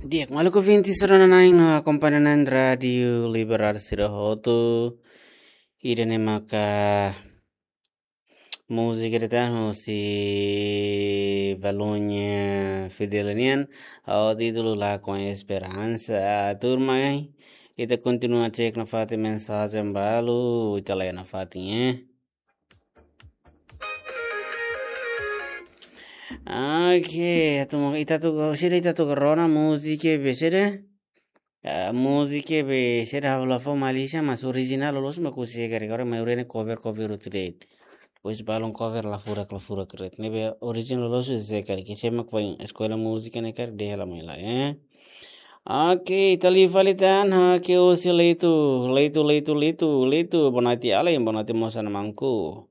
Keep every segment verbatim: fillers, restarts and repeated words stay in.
Di'ak, maluk ouvinte sira-ne'e no akompaña na'in Rádiu Liberdade sira hotu. Ida-ne'e maka múzika ida tan husi Valonha Fidel nian, ho títulu La Con Esperansa. Tuirmai, ita kontinua cek nafatin mensajen balu, ita la'o nafatin, eh. Oke, atu mo ita atu, sira ita atu rona múzika be sira. Ah, múzika be sira ha'u la fó malisan, mas orijinál loloos mak husi karik, agora maioria ne'e cover, cover hotu de'it. Depois balun cover la furak, la furak de'it. Ne'ebé orijinál loloos husi karik, ke sema ko eskola múzika ne'e karik dehan hela mai lai, eh. Oke, ita liu fali tan, ha, ke husi Leitu, Leitu, Leitu, Leitu, Leitu, boa noite alin, boa noite mós maun Ku.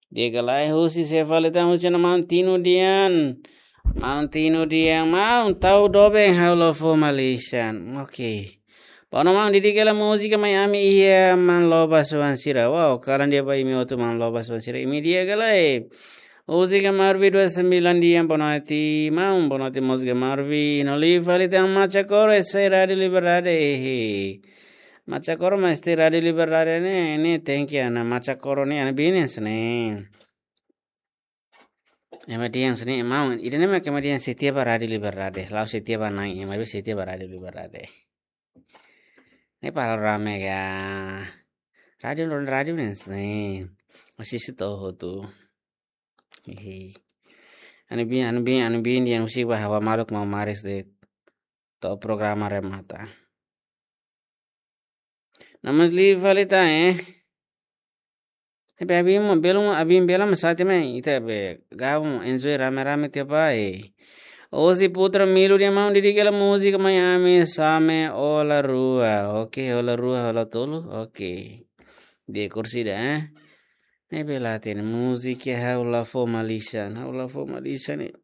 Di'ak ka lae, husi sé fali tan, husi maun Tino Dian. Maun Tino Dian, maun tau doben ha'u la fó malisan. Oke. Bom, maun, dedika hela múzika mai ami iha maun Lobas Suan sira. Wow, kalan di'ak ba imi hotu maun Lobas Suan sira. Imi di'ak ka lae. Múzika Marvi dua sembilan Dian, boa noite, maun, boa noite múzika Marvi. No liu fali tan Macha Koro, esse Rádiu Liberdade. Macha Koro, mas esse Rádiu Liberdade ne'e, ne'e tenke ana Macha Koro ne'e, ana binis ne'e. Ema dehan sini, maun, ida-ne'e mak ema dehan setia ba Rádiu Liberdade, la'o setia ba na'in, ema be setia ba Rádiu Liberdade. Ne'e para rame ga. Rádiu, ron rádiu ne'e sini. Masih situ tu. Hihi. Anu bin, anu bin, anu bin dehan husik ba ha'u maluk maun Maris de'it. To'o programa remata. Namun liu fali tan, eh. Tapi abin mo, belum, abin bela masate mai, ita be gabung, enjoy rame-rame tiap hari. Ozi Putra Milu dehan maun dedika hela múzika mai ami, Same Hola Rua. Oke, Hola Rua, Hola Tolu. Oke. Di'ak, kursi ida, eh. Ne'ebé la hatene múzika ha'u la fó malisan, ha'u la fó malisan ne'e.